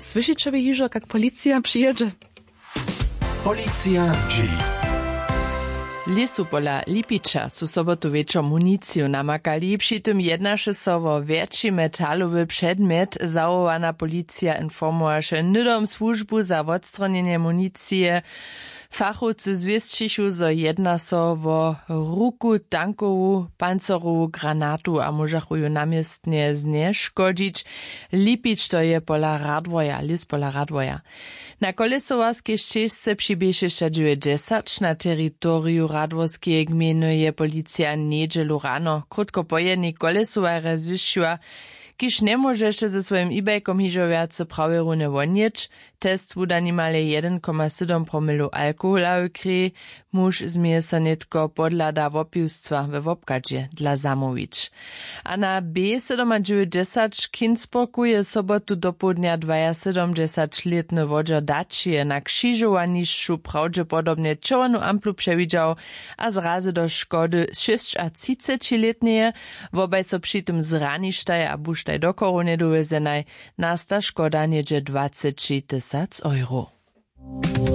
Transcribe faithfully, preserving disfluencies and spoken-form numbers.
Słyšiće wy hižo, kak policija přijědźe? Policija zdźěli. Lěsu pola Lipiča su sobotu wječor municiju namakali, při tym jednaše so wo wjetši metalowy předmjet. Zawołana policija informowaše hnydom słužbu za wotstronjenje municije. Fachowcy zwěsćichu, zo jedna so wo ruku tankowu pancerowu granatu a móžachu ju na městnje znješkodźić. Lipić to je pola Radworja, lěs pola Radworja. Na Koljesowarskej šćežce při bě šěsćadźewjećdźesać na teritoriju Radworskeje gmejny je policija njedźelu rano krótko po jednej Koljesowarje zwěsćiła, kiž njemóžeše ze swojim e-bajkom hižo wjace prawje runje wonjěć. Test wuda nimale jedyn koma sydom promilow alkohola w krěj. Muž změje so nětko podhlada wopiwstwa we wobchadźe dla zamołwić. A na b sydomadźewjećdźesać w Kinsburgu je sobotu dopołdnja dwajasydomdźesaćlětny wodźer daćije na křižowanišću prawdźepodobnje čerwjenu amplu přewidźał a zrazy do škody šěsćatřicećilětneje. Wobaj so při tym zraništaj a buštaj do chorownje dowjezenaj. Nasta škoda něhdźe dwaceći tysac euro.